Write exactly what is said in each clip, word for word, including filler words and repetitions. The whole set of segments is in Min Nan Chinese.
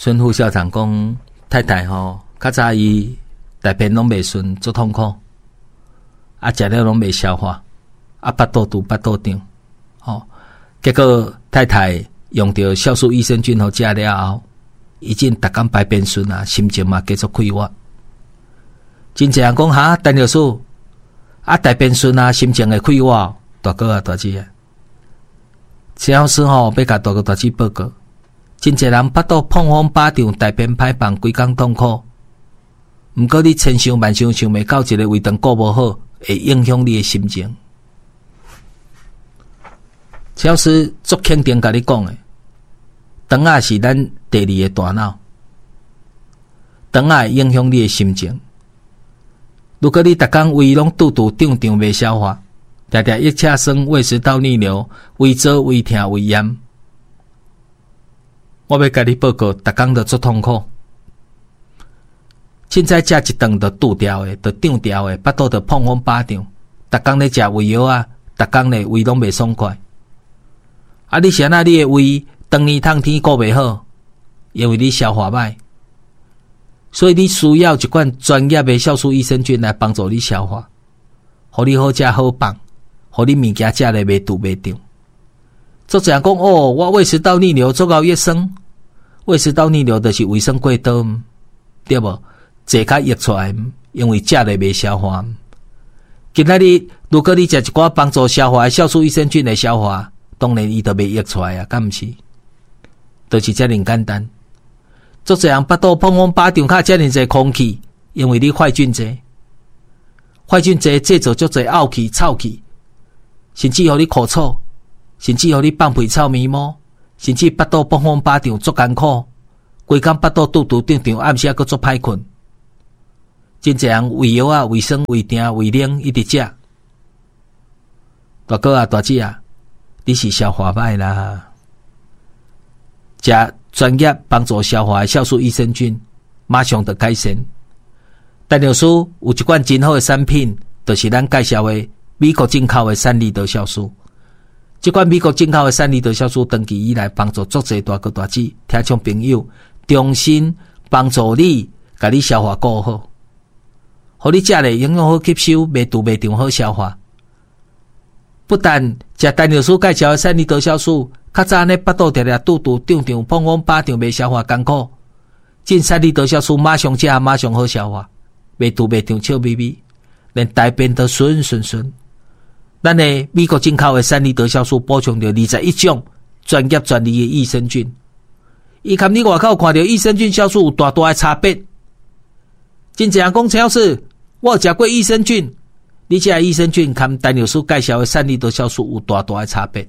孫副校長講，太太吼，較早伊大便攏袂順，足痛苦，啊，食了攏袂消化，啊，腹肚揬腹肚脹，吼，結果太太用著酵素益生菌予食了後，伊真逐工排便順啊，心情嘛加足快活。真濟人講哈，陳老師，啊，大便順啊，心情會快活，大哥啊，大姐啊，陳老師吼，欲共大哥大姊報告，真濟人腹肚膨風飽脹，大便歹放，規工痛苦。毋過你千想萬想想袂到一个胃腸顧無好，會影響你的心情。陳老師足肯定共你講的，腸仔是咱第二个大腦，腸仔會影響你的心情。如果你逐工胃攏肚肚脹脹袂消化，定定腋下酸、胃食道逆流、胃燥、胃疼、胃炎，我欲共你報告，逐工都足痛苦。凊彩食一頓就肚掉的，就脹掉的，腹肚就膨風飽脹，逐工咧食胃藥啊，逐工咧胃攏袂爽快。啊，你是按怎你的胃當年冬天顧袂好，因為你消化歹，所以你需要一款專業的酵素益生菌來幫助你消化，予你好食好放，予你物件食咧袂肚袂脹。足濟人講哦，我胃食道逆流足𠢕胃酸，胃食道逆流就是胃酸過多，對無？坐較溢出來，因為食咧袂消化。今仔日如果你食一寡幫助消化的酵素益生菌來消化，當然伊就袂溢出來啊，敢毋是？就是遮爾簡單。足濟人腹肚膨風飽脹，較遮爾濟空氣，因為你壞菌濟，壞菌濟製造足濟漚氣、臭氣，甚至予你咳嗽，甚至予你放屁臭咪毛，甚至腹肚膨風飽脹足艱苦，規工腹肚肚肚脹脹，暗時猶閣足歹睏。真濟人胃藥啊、胃酸、胃定、胃冷一直食。大哥啊、大姊啊，你是消化歹啦。食專業幫助消化的酵素益生菌，馬上就改善。陳老師有一款真好的產品，就是咱介紹的美國進口的三利得酵素。這款美國進口的三利得酵素，長期以來幫助足濟大哥大姊、聽眾朋友，重新幫助你，共你消化顧好，予你食咧營養好吸收，袂肚袂脹好消化。不但食陳老師介紹的三利得酵素，較早呢腹肚定定肚肚脹脹、膨風飽脹、袂消化艱苦，進三利得酵素馬上食，馬上好消化，袂肚袂脹，笑眯眯，連大便都順順順。咱的美國進口的三利得酵素補充著二十一種專業專利的益生菌，伊含你外口看著益生菌酵素有大大的差別。真濟人講陳老師，我有食過益生菌，你這益生菌含陳老師介紹的三利得酵素有大大的差別。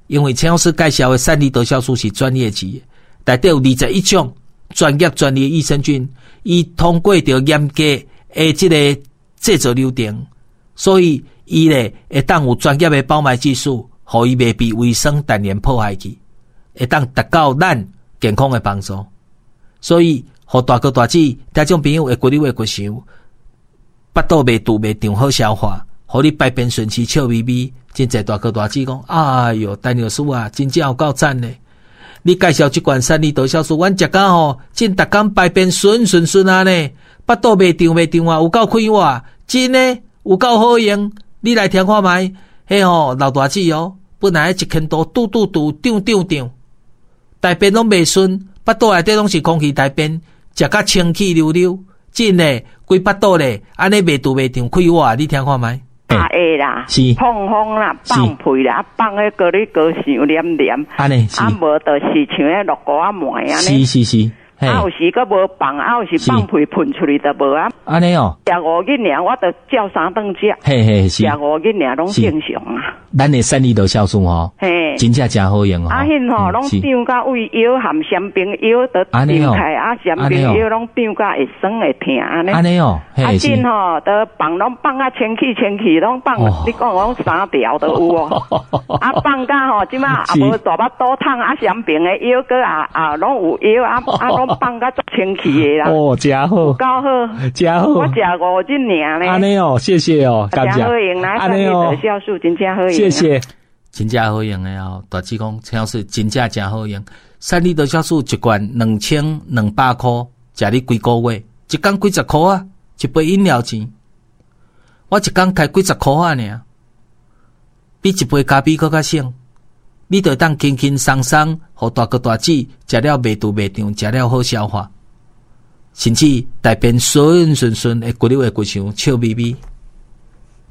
因為陳老師介紹的三利得酵素是專業級的，內底有二十一種專業專利的益生菌，伊通過著嚴格的這个製造流程，所以伊咧會當有專業的包埋技術，予伊袂被胃酸氮鹽破壞去，會當達到咱健康的幫助。所以，予大哥大姊、聽眾朋友會骨溜會骨想，腹肚袂肚袂脹好消化，予你排便順暢笑眯眯。真濟大哥大姊講：哎喲，陳老師啊，真正有夠讚呢！你介紹這款三利得酵素，阮食甲吼，真逐工排便順順順啊呢，腹肚袂脹袂脹啊，有夠快活，真的有夠好用。你來聽看覓，彼吼老大姊哦，本來一千多肚肚肚脹脹脹，大便攏袂順，腹肚內底攏是空氣大便，食甲清氣溜溜，真的規腹肚咧，按呢袂肚袂脹快活，你聽看覓。啊會啦，是膨風啦，放屁啦，放彼個你高想黏黏，按呢是啊無就是像彼落糊仔糜按呢，是是是，嘿啊有時閣無放，啊有時放屁噴出去就無啊。按呢哦，食五日爾，我就照三頓食，嘿嘿是食，五日爾攏正常啊。咱的三利得酵素吼，嘿，真正誠好用哦。啊，彼吼攏嗯是脹甲胃腰含傷病腰都按呢哦脹開，啊傷病腰攏脹甲會酸會疼按呢。按呢哦，啊，嘿是真吼，都放攏放啊清氣清氣，攏放哦，你講攏三條都有哦。啊，放甲吼，這馬是也無大腹肚痛，啊，傷病的腰閣也也攏有藥，啊啊攏放甲足清氣的啦，哦，誠好，夠好。誠好我食五日爾呢，按呢哦，謝謝哦，感謝誠好用，來按呢哦三利得酵素真正好用。謝謝。真正好用的哦。大姊講，陳老師真正誠好用。散利多酵素一罐兩千兩百箍，食你幾個月，一工幾十箍啊，一杯飲料錢。我一工開幾十箍仔爾，比一杯咖啡閣較省。你就當輕輕鬆鬆，予大哥大姊食了袂肚袂脹，食了好消化，甚至大便順順順會骨溜會骨腸笑眯眯。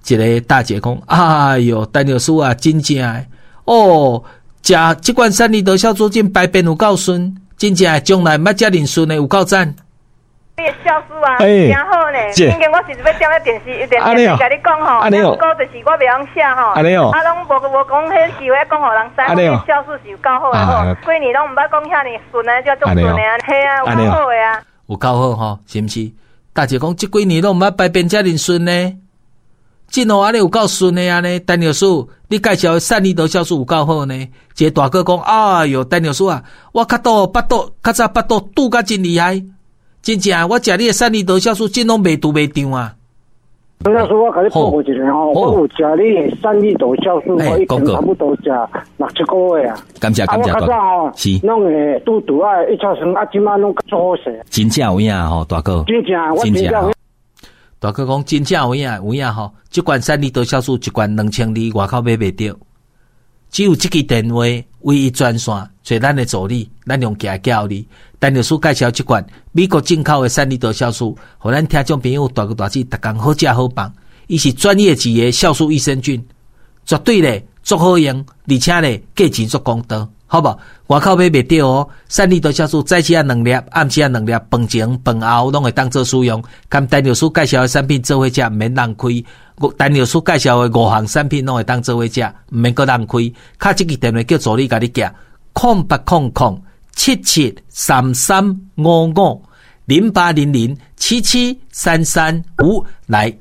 一个大姐講：“哎喲，陳老師啊，真正的哦，食這罐散利多酵素菌排便有夠順，真正的從來毋捌遮爾順的，有夠讚。” 你的酵素啊，誠好呢。今日我是欲踮咧電視電視共你講吼，毋過就是我袂曉寫吼，啊，攏無無講彼機會講予人知，我酵素是有夠好的吼，幾年攏毋捌講遐爾順的，才足順的啊，係啊，有夠好的啊。有夠好吼，是毋是？大姐講，這幾年攏毋捌排便遮爾順呢。真哦，按呢有夠順的按呢，陳老師，你介紹的散利多酵素有夠好呢。一個大哥講，哎喲，陳老師啊，我較肚腹肚較早腹肚拄甲真厲害，真正我食你的散利多酵素，真攏袂肚袂脹啊。陳老師，我共你報告一下吼，我有食你的散利多酵素，我已經差不多食六七個月啊。感謝感謝。我較早吼，是，攏會肚肚啊，一叉酸啊，這擺攏足好勢。真正有影吼，大哥。真正，我真正。大哥講真正有影有影吼，這罐散利多酵素一罐兩千二，外口買袂著。只有這支電話唯一專線，揣咱的助理，咱用寄寄予你。陳律師介紹這罐美國進口的散利多酵素，予咱聽眾朋友大哥大姊逐工好食好放。伊是專業級的酵素益生菌，絕對咧足好用，而且咧價錢足公道，好無？外口買袂著哦。散利多酵素早時仔兩粒，暗時仔兩粒，飯前飯後攏會當做使用。佮陳律師介紹的產品做伙食，毋免浪費。陳律師介紹的五項產品攏會當做伙食，毋免閣浪費。敲這支電話叫助理共你寄，空八空空七七三三五五零八零零七七三三五來。